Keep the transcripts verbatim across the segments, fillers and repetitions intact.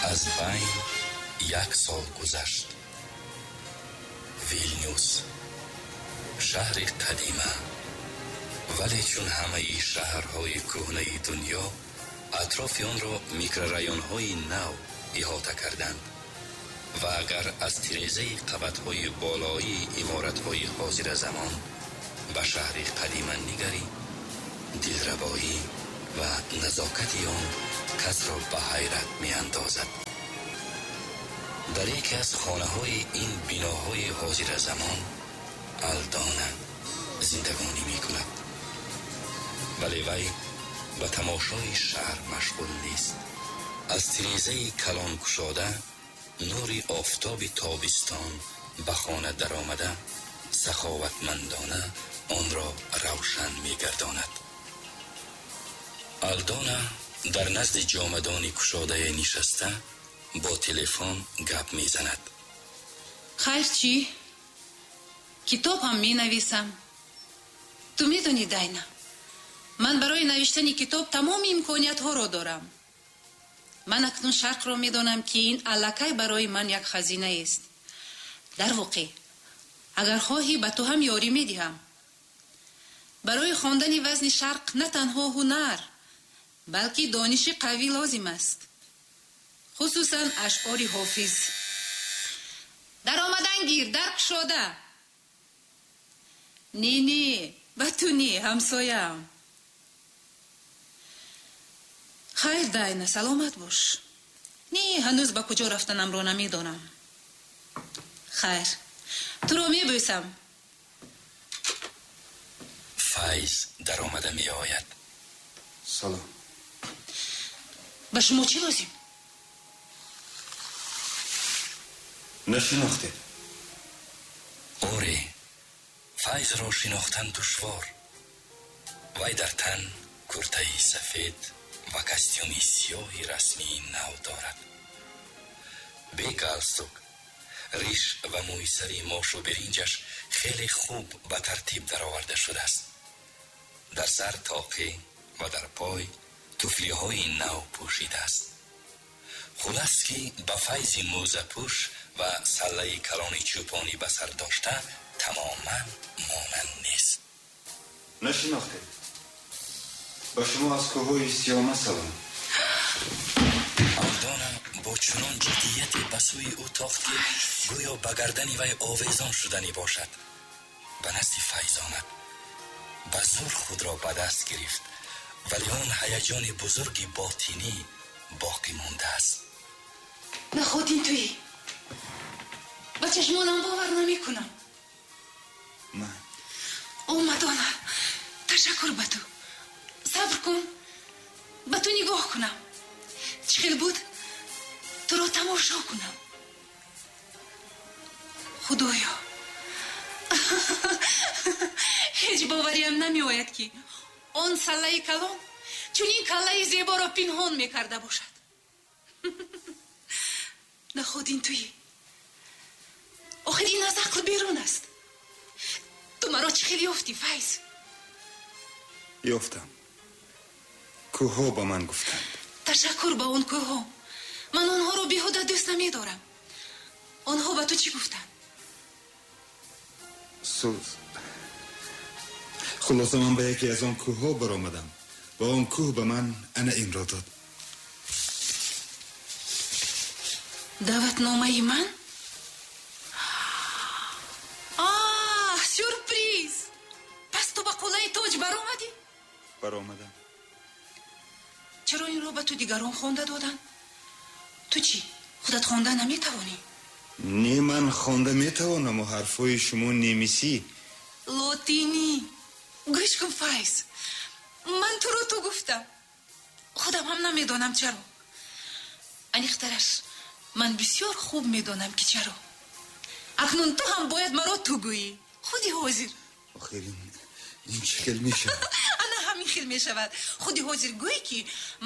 Аз байн як сол гузашт. Вилнюс, шаҳри қадима, вале чун ҳамаи шаҳрҳои кӯҳнаи дунё, атрофи онро микрорайонҳои нав иҳота карданд ва агар аз тирезаи қабатҳои болоии иморатҳои ҳозиразамон ба шаҳри қадима нигарӣ, дилрабоӣ ва назокати он касро ба ҳайрат меандозад. Дар яке аз хонаҳои ин биноҳои ҳозиразамон Алдона зиндагонӣ мекунад, вале вай ба тамошои шаҳр машғул нест. Аз тирезаи калон кушода нури офтоби тобистон ба хона даромада саховатмандона онро равшан мегардонад. Алдона дар назди ҷомадони кушодае нишаста бо телефон гап мезанад. Хайр, чӣ? Китоб ҳам менависам. Ту медонӣ, Дайна, ман барои навиштани китоб тамоми имкониятҳоро дорам. Ман акнун шарқро медонам, ки ин аллакай барои ман як хазинаест. Дар воқеъ, агар хоҳӣ, ба ту ҳам ёрӣ медиҳам. Барои хондани вазни шарқ на танҳо ҳунар, балки дониши қавӣ лозим аст, хусусан ашъори Ҳофиз. Даромадан гир, дар кушода. Не, не, ба ту не, ҳамсояам. Хайр, Дайна, саломат бош. Не, ҳанӯз ба куҷо рафтанамро намедонам. Хайр, туро мебӯсам. Файз даромада меояд. Салом. Ба шумо чӣ лозим? Нашинохтед? Оре, Файзро шинохтан душвор. Вай дар тан куртаи сафед ва костюми сиёҳи расмии нав дорад. Бе галстук, риш ва мӯи сари мошу биринҷаш хеле хуб ба тартиб дароварда шудааст. Дар сар тоқӣ ва дар пой туфлиҳои нав пӯшидааст. Хулас ки ба Файзи мӯзапӯш ва саллаи калони чӯпонӣ ба сар дошта тамоман монанд нест. Нашинохтед? Ба шумо аз кӯҳҳои Сиёма салом. Алдона бо чунон ҷиддияте ба сӯи ӯ тохт, ки гӯё ба гардани вай овезон шуданӣ бошад. Ба назди Файз омад, ба зӯр худро ба даст гирифт, вале он ҳаяҷони бузурги ботинӣ боқӣ мондааст. Наход ин туӣ? Ба чашмонам бовар намекунам. Ман. О, Мадона, ташаккур ба ту. Сабр кун, ба ту нигоҳ кунам. Чӣ хел буд? Туро тамошо кунам. Худоё, ҳеҷ бовариам намеояд, ки он саллаи калон чунин каллаи зеборо пинҳон мекарда бошад. Наход ин туӣ? Охир ин аз ақл берун аст. Ту маро чӣ хел ёфтӣ, Файз? Ёфтам. Кӯҳҳо ба ман гуфтанд. Ташаккур ба он кӯҳҳо. Ман онҳоро беҳуда дӯст намедорам. Онҳо ба ту чӣ гуфтанд? Сӯз. Хулоса, ман ба яке аз он кӯҳҳо баромадам ва он кӯҳ ба ман ана инро дод. Даъватномаи ман? Аҳ, сюрприз! Пас ту ба қуллаи тоҷ баромадӣ? Баромадам. Чаро инро ба ту дигарон хонда доданд? Ту чӣ, худат хонда наметавонӣ? Не, ман хонда метавонаму ҳарфҳои шумо немисӣ. Лотинӣ. Гӯш кун, Файз, ман туро ту гуфтам. Худам ҳам намедонам чаро. Аниқтараш, ман бисёр хуб медонам, ки чаро. Акнун ту ҳам бояд маро ту гӯӣ. Худи ҳозир. Охир ин чӣ хел мешавад? Ана ҳамин хел мешавад. Худи ҳозир гӯй, ки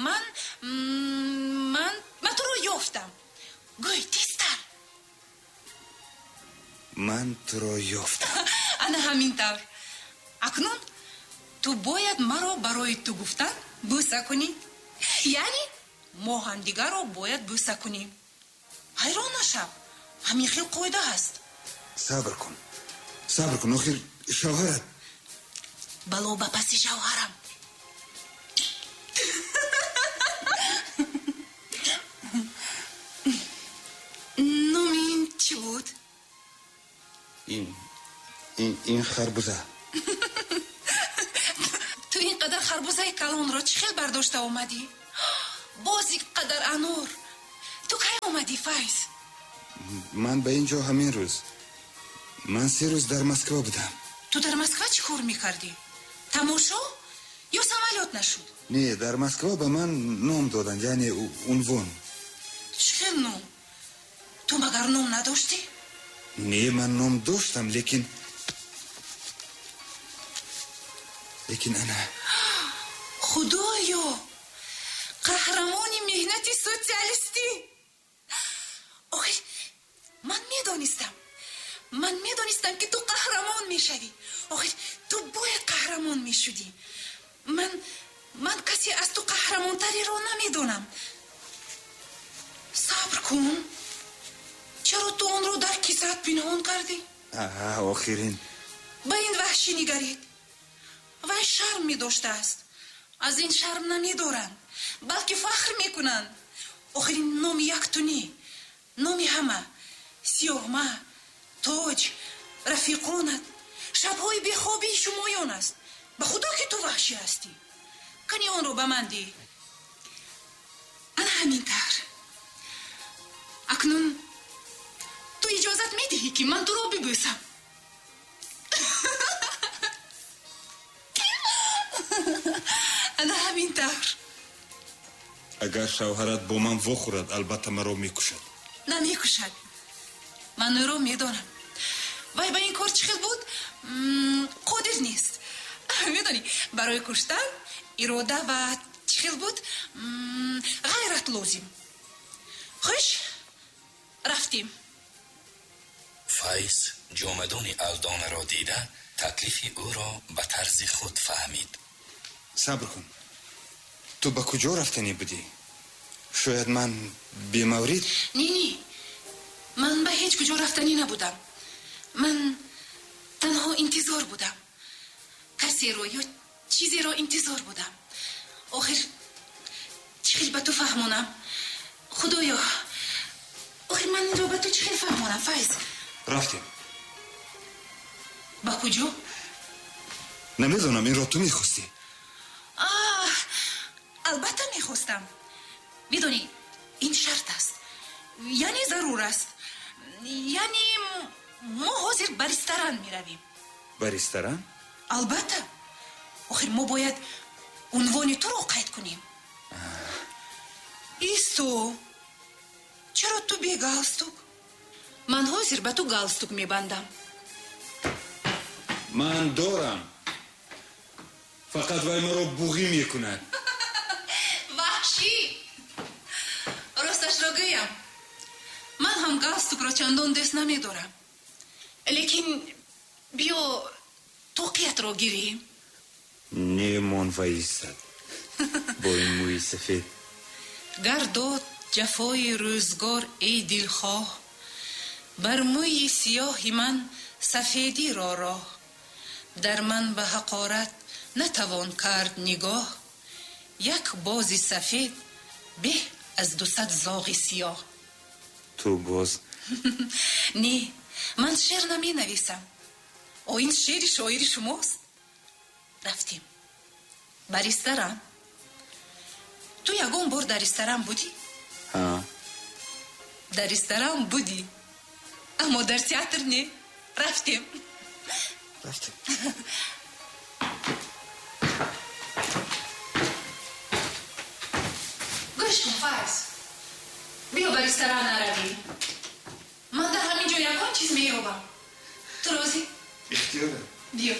ман ман ман туро ёфтам. Гӯй тезтар. Ман туро ёфтам. Ана ҳамин тавр. Акнун ту бояд маро барои ту гуфтан бӯса кунӣ, яъне Мо ҳамдигарро бояд бӯса кунем. Ҳайрон нашав, ҳамин хел қоида ҳаст. Сабр кун, сабр кун, охир шавҳарат. Бало ба паси шавҳарам. Номи ин чӣ буд? Ин ин ин харбуза. Ту ин қадар харбузаи калонро чӣ хел бардошта омадӣ? Боз ин қадар анор. Ту кай омадӣ, Файз? Ман ба ин ҷо ҳамин рӯз. Ман се рӯз дар Москва будам. Ту дар Москва чӣ кор мекардӣ? Тамошо ё самолёт нашуд? Не, дар Москва ба ман ном доданд, яъне унвон. Чӣ хел ном? Ту магар ном надоштӣ? Не, ман ном доштам, лекин лекин ана. Худоё, қаҳрамони меҳнати социалистӣ! Охир ман медонистам, ман медонистам, ки ту қаҳрамон мешавӣ. Охир ту бояд қаҳрамон мешудӣ. Ман ман касе аз ту қаҳрамонтареро намедонам. Сабр кун, чаро ту онро дар кисаат пинҳон кардӣ? Аҳа, охирин. Ба ин ваҳшӣ нигаред. Вай шарм медоштааст. Аз ин шарм намедоранд, балки фахр мекунанд. Охир ин номи як ту не, номи ҳама. Сиёҳма, Тоҷ, рафиқонат, шабҳои бехобии шумоён аст. Ба худо ки ту ваҳшӣ ҳастӣ. Кани онро ба ман диҳ. Ана ҳамин тавр. Акнун ту иҷозат медиҳӣ, ки ман туро бибӯсам? Ана ҳамин тавр. Агар шавҳарат бо ман вохӯрад, албатта маро мекушад. Намекушад. Ман ӯро медонам. Вай ба ин кор чӣ хел буд? Қодир нест. Медонӣ, барои куштан ирода ва чӣ хел буд? Ғайрат лозим. Хуш, рафтем. Файз ҷомадони Алдонаро дида, таклифи ӯро ба тарзи худ фаҳмид. Сабр кун, ту ба куҷо рафтанӣ будӣ? Шояд ман бемаврид? Не, не, ман ба ҳеҷ куҷо рафтанӣ набудам. Ман танҳо интизор будам. Касеро ё чизеро интизор будам. Охир чӣ хел ба ту фаҳмонам? Худоё, охир ман инро ба ту чӣ хел фаҳмонам, Файз? Рафтем. Ба куҷо? Намедонам, инро ту мехостӣ. Аҳ, албатта мехостам. Медонӣ, ин шарт аст, яъне зарур аст. Яъне мо ҳозир ба ресторан меравем. Ба ресторан? Албатта. Охир мо бояд унвони туро қайд кунем. Исто, чаро ту бе галстук? Ман ҳозир ба ту галстук мебандам. Ман дорам, фақат вай маро буғӣ мекунад. Ваҳшӣ! Росташро гӯям, ман ҳам галстукро чандон дӯст намедорам. Лекин биё тоқиятро гирем. Немон ваистад бо ин мӯи сафед. Гар дод ҷафои рӯзгор, эй дилхоҳ, бар мӯи сиёҳи ман сафедиро роҳ. Дар ман ба ҳақорат натавон кард нигоҳ. Як бози сафед беҳ аз дусад зоғи сиёҳ. Ту боз? Не, ман шеър наменависам. О, ин шеъри шоири шумост. Рафтем ба ресторан. Ту ягон бор дар ресторан будӣ? Ҳа. Дар ресторан будӣ, аммо дар театр не. Рафтем. Рафтем. Гӯш кун, Файз, биё ба ресторан наравем. Ман дар ҳамин ҷо ягон чиз меёбам. Ту розӣ? Ихтиёрам. Биё.